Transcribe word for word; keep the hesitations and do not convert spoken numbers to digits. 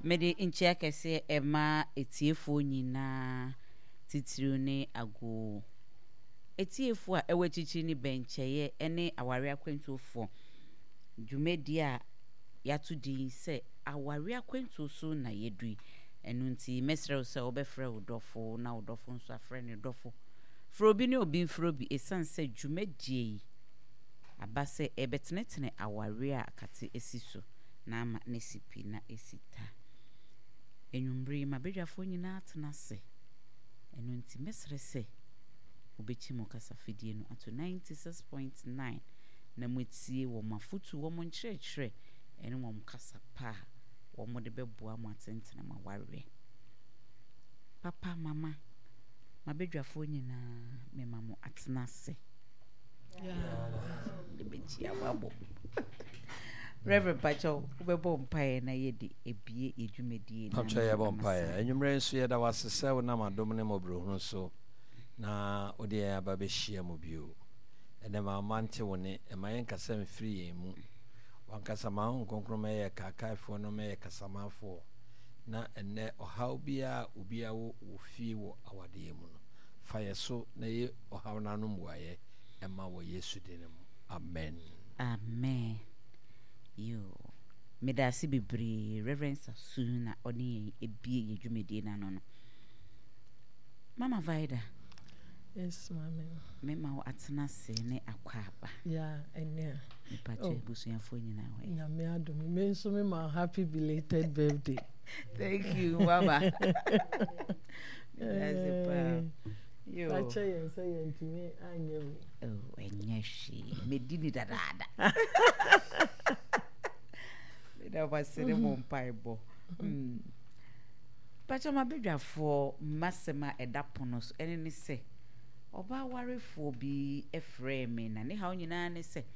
Mede nkyia kɛseɛ ɛma etiefoɔ nyinaa, titiriw ne ago etiefoɔ a ɛwɔ akyirikyiri ne bɛnkyɛeɛ ne aware akwantuofoɔ. Dwumadie a yɛato din sɛ Aware Akwantuo So na yɛdu yi. Ɛno nti mɛsrɛ wo sɛ wobɛfrɛ wo dɔfo na wo dɔfo nso afrɛ ne dɔfo. Frɛ obi ne obi mfrɛ obi, ɛsiane sɛ dwumadie yi aba sɛ ɛbɛtenetene aware a akate asi so na ama ne si pi na ɛsi ta. Enwummere yi, mabadwafoɔ nyinaa atena ase. Ɛno nti mɛsrɛ sɛ wobɛkyi mo kasafidie no ato ninety-six point nine na moatie wɔn afotu, wɔn nkyerɛkyerɛ ɛne wɔn kasa pa a wɔn de bɛboa mo atentene mo awareɛ. Papa, mama, mabadwafoɔ nyinaa, mema mo atena ase. Yɛbɛkyia mo abɔ. Reverend Pacho, wobɛbɔ mpaeɛ na yɛde ebie yɛ dwumadie no. Pamkyɛ, yɛbɔ mpaeɛ. Anwummerɛ nso yɛda wo ase sɛ wonam adom ne mmɔborɔhunu so na wode yɛn aba bɛhyia mu bio ɛnɛ. Ma ɔma nte wo ne ɛma yɛnkasa mfiri yɛn mu. Wankasa ma Honhom Kronkron mɛyɛ kaakaefoɔ no, mɛyɛ kasamafoɔ, na ɛnɛ ɔhaw biara obiara wɔ wɔ fie wɔ awadeɛ mu no, fa yɛ so na yɛ ɔhaw no ano mmuaeɛ ɛma wɔ Yesu din mu, amen. Amen. Yo, meda ase bebree, Reverend Sasu, na ɔne yɛn ebie yɛ dwumadie no ano no. Mama Vida. Yes, maame. Mema wo atena ase ne akɔ aba. Yeah, ɛnɛ. Mepakyɛ, oh, abusuafoɔ nyinaa hɔ? Nyame adom. Me nso me ma happy belated birthday. Thank you, mama. Meda ase paa. Yo. Pakyɛ yɛn sɛ yɛntumi anyɛ wi. Oh, ɛnyɛ hwee. Medi ni dadaada. Meda mo ase ne mo mpaebɔ. Mm. Pakyɛ, mabadwafoɔ, mmasɛm a ɛda pono so ɛne ne sɛ ɔbaa warefoɔ bi frɛɛ me na ne haw nyinaa ne sɛ